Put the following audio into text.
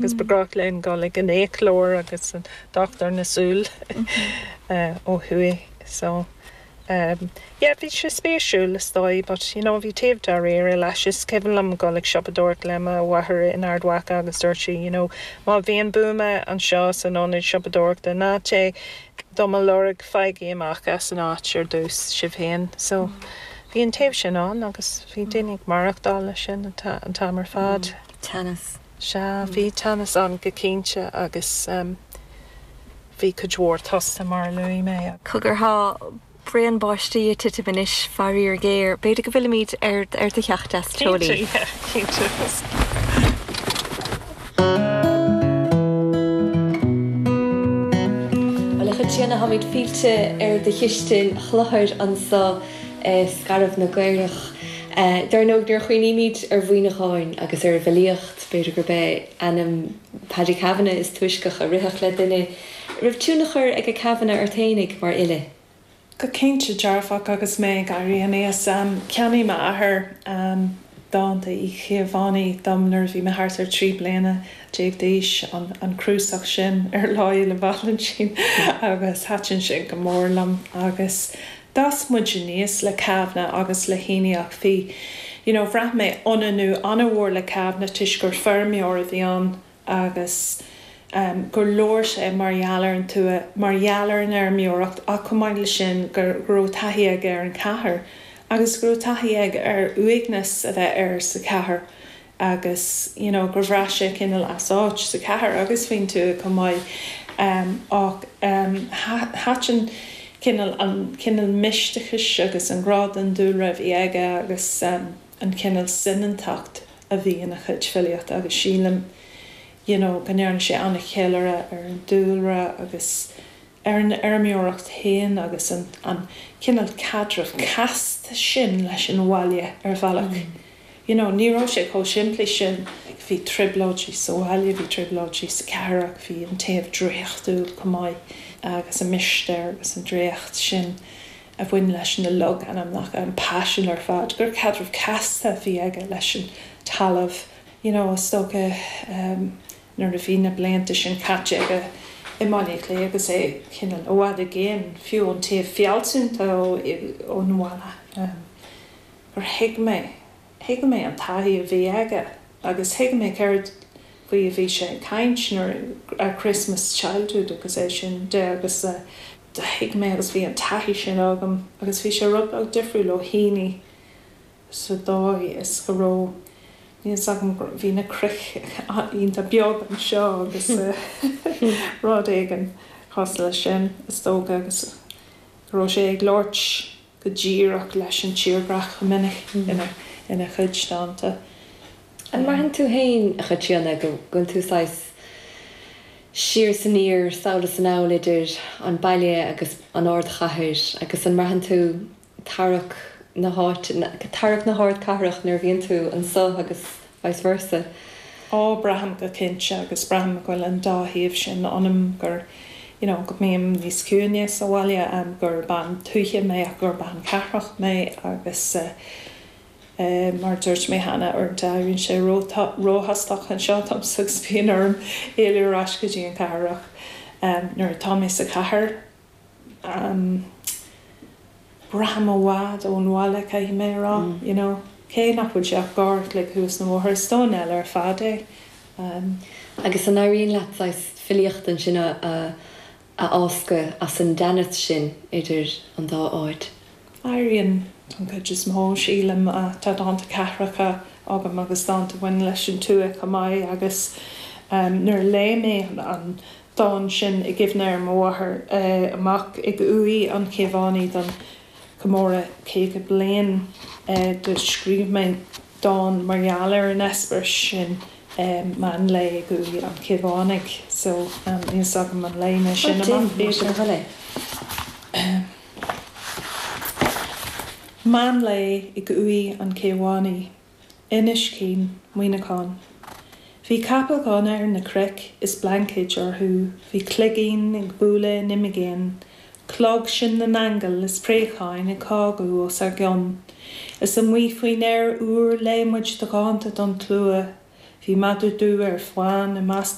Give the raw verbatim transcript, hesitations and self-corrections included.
Agus ba ghnách linn dul ag an fhiaclóir agus an dochtúir na súl ó thuaidh so um, yeah, bhí sé spéisiúil is dóigh, but you know, bhí taobh dáiríre leis is cuimhin liom dul ag siopadóireacht le mo mháthair in Ard Mhacha agus dúirt sí, you know, má bhíonn buama anseo san ionad siopadóireachta ná téigh do mo lorg faighigí amach as an áit ar dtús sibh féin. So bhí an taobh sin ann agus bhí daoine ag maireachtáil leis sin an t-am ar fad. Teannas. Sea, bhí teannas ann go cinnte agus um, bhí cuid mhór tosta mar a luaigh mé. Cogar tá braon báistí ag titim anois faraor géar, b'fhéidir go bhfillfimid ar ar do theach deas teolaí. Cinnte. Bhuel a Chaitríona táimid fillte ar do chistin chluthair anseo i Scairbh na gCaorach. Dar ndóigh nuair a chuimhnímid ar Mhuineachán agus ar an bhfilíocht, b'fhéidir gurb é ainm Paddy Kavanagh is túisce a rithfeadh le duine. Raibh tionchar ag Kavanagh ort fhéinig mar fhile? Go cinnte dearfach agus mé ag éirí aníos. Cheannaigh m'athair dánta Uí Chaomhánaigh dom nuair a bhí mé thart ar trí bliana déag d'aois, an cnuasach sin ar Lá Fhéile Vailintín agus thaitin sin go mór liom agus d'fhás muid aníos le Kavanagh agus le Heaney ach bhí, you know, bhraith mé ionannú an-mhór le Kavanagh toisc gur feirmeoir a bhí ann agus gur labhair sé mar gheall ar an tuath, mar gheall ar an fheirmeoireacht ach chomh maith leis sin go raibh taithí aige ar an chathair agus go raibh taithí aige ar uaigneas a bheith air sa chathair agus you know gur bhraith sé cineál as áit sa chathair agus faoin tuath chomh maith ach thaitin cineál an cineál misteachais agus an grá don dúlra a bhí aige agus an cineál soineantacht a bhí ina chuid filíochta agus sílim you know go ndearna sé an-cheiliúradh ar an dúlra agus ar an fheirmeoireacht féin agus an an cineál caidreamh casta sin leis an bhaile ar bhealach. You know, ní raibh sé chomh simplí sin. Bhí trioblóidí sa bhaile, bhí trioblóidí sa chathair ach bhí an taobh draíochtúil chomh maith agus an mistéir agus an draíocht sin a bhain leis na logainmneacha, an paisean ar fad, gur caidreamh casta a bhí aige leis an talamh. You know, is dócha nuair a bhí na blianta sin caite aige i mBaile Átha Cliath agus é cineál i bhfad i gcéin, fiú ón taobh fealsúnta ón bhaile, gur thuig mé, thuig mé an taithí a bhí aige agus thuig mé céard faoi a bhí sé ag caint nuair a Christmas Childhood agus é sin de agus do thuig mé agus bhí an taithí sin agam agus bhí sé rud beag difriúil ó Heaney sa dóigh is go raibh, níl 's agam, bhí na cnoic iontach beag anseo agus rud éigin cosúil leis sin is dócha agus go raibh sé ag labhairt go díreach leis an tírdhreach go minic ina chuid dánta. An mbraitheann tú féin, a Chaitríona, go bhfuil tú saghas siar is aniar, sall is anall idir an baile agus an ardchathair agus an mbraitheann tú tarrac na háite, tarrac na hardchathrach nuair a bhíonn tú anso agus vice versa? Á, braithim go cinnte agus braithim go bhfuil an dá thaobh sin ionam, gur, you know, go mbím níos ciúine sa bhaile, gur bean tuaithe mé ach gur bean cathrach mé agus eh, mar a dúirt mé cheana, uaireanta éiríonn sé róthastach anseo domsa agus bíonn orm éalú ar ais go dtí an chathair ach nuair atá mé sa chathair, Braithim i bhfad ón bhaile, caithfidh mé a rá, you know. Cé nach bhfuil sé ach uair a chloig thuas an bóthar, is domhan eile ar fad é. Agus an éiríonn leat saghas filíocht ansin a fháscadh as an dteannas sin idir an dá áit? Éiríonn, don chuid is mó, sílim. Tá dánta cathracha agam agus dánta a bhaineann leis an tuath chomh maith agus nuair a léigh mé an dán sin i gcuimhne ar mo mháthair amach ag uaigh an Chaomhánaigh don chomóradh caoga bliain do scríobh mé dán mar gheall ar an eispéireas sin meán lae ag uaigh an Chaomhánaigh so níl fhios agam an léigh mé sin amach b'fhéidir. Meán lae ag uaigh an Chaomhánaigh. Inis Caoin, Muineachán. Bhí capaill dhonna ar na cnoic is blaincéid orthu, bhí cloigín ag bualadh in imigéin, clog sin na n-aingeal is préacháin ag cágadh os ár gcionn. Is amuigh faoin aer úr léigh muid do dhánta don tslua, bhí Bhí madadh dubh ar fán i measc